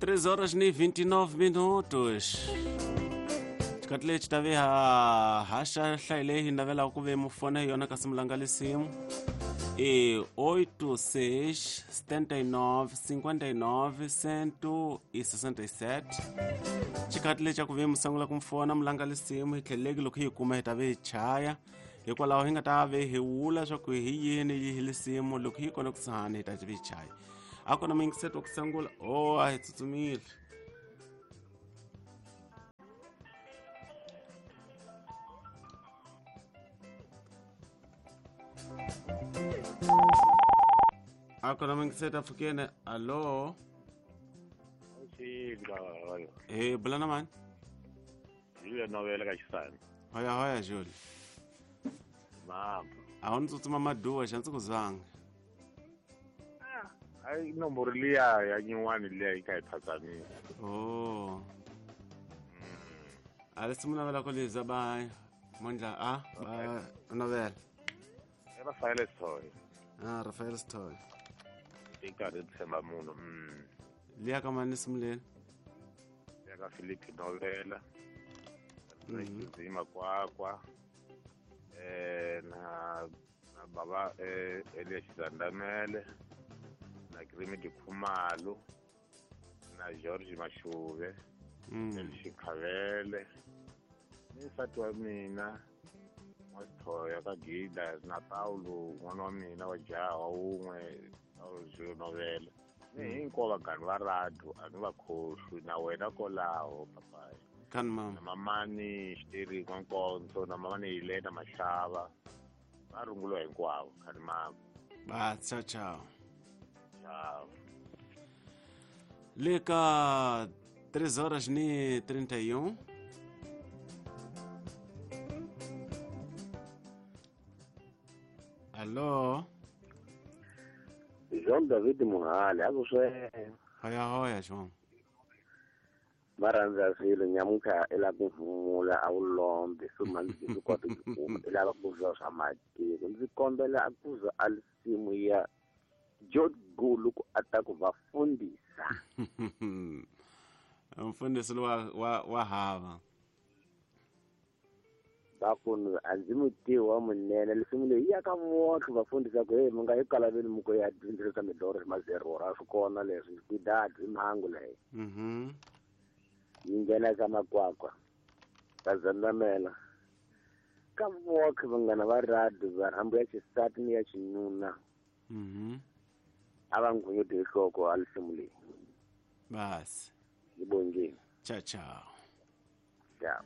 3 horas ni 29 minutos. Xikati lexi ta ve ha haxa hlayi leyi hi navelaka ku ve mufona hi yona kasi mulanga lisimu i 86 79 59 167. Xikati lexi xa ku ve musangula ku mufona mulanga lisimu hi tlheleleki loko hi yi kuma hi ta ve hi chaya, hikwalaho hi nga ta ve hi wula swa ku hi yini yi hi lisimu loko hi kona kusuhani hi ta ve hi chaya. A kona muyingiseti wa ku sungula. O a hi tsutsumile. A kona muyingiseti a pfukene. Allo, e bula na mani? Julia Novela ka Xisani. Hoya hoya Julia. Mama. A wu ni tsutsuma maduwa xa ndzi ku zanga. Ai nomboro liya ya nyuwani liya yi kha yi phatsamile. Oh. A le simu navela ko liza ba mondla a ba novela. I Rafael Stoy. Ah, Rafael Stoy. I karhi tshemba munhu. Liya ka mani simu leni? Ya ka Philip Novela. Zima Kwakwa. Na baba Elias Zandamele. Na Krimi Dikhumalo, na George Mashuve, na Xikhavele, ni nsati wa mina N'wa-Sithoya ka Gida, na Paulo n'wana wa mina wa jaha wa wun'we Paulo Zulu Novela, ni hinkwavo vanghani va radio a ni va khohlwi, na wena kolaho papayi. Kan mama. Na mamani Xiteri N'wankonzo, na mamani Helena Mahlava, va runguliwa hinkwavo khani mama. Ba ciao ciao. Ciao. Le ka 3 horas ni 31. Allo. Jean David Muhali, a ku swe. Hoya hoya Jean. Va rhandza swilo nyamuntlha i lava ku humula a wu lombi swi mani swi kota ku kuma i lava ku zwa swa matiko. Ndzi kombela a ku za a lisimu ya George Gulu ku a ta ku va fundisa. Mfundisi wa hava. Va ku a ndzi mutivi wa munene lisimu leyi ya ka votlhe va fundisa ku hey mi nga yi kalaveni mi ku ya dyondzisa midoro mazerora swi kona leswi kwidadi i mhangu leyi. Yi nghena ka Makwakwa ka Zandamela ka votlhe vanghana va radio va rhambu ya xisati ni ya xinuna. A va nghunguti hi nhloko a lisimu leyi. Basi. Yi bongile. Ciao ciao. Ciao.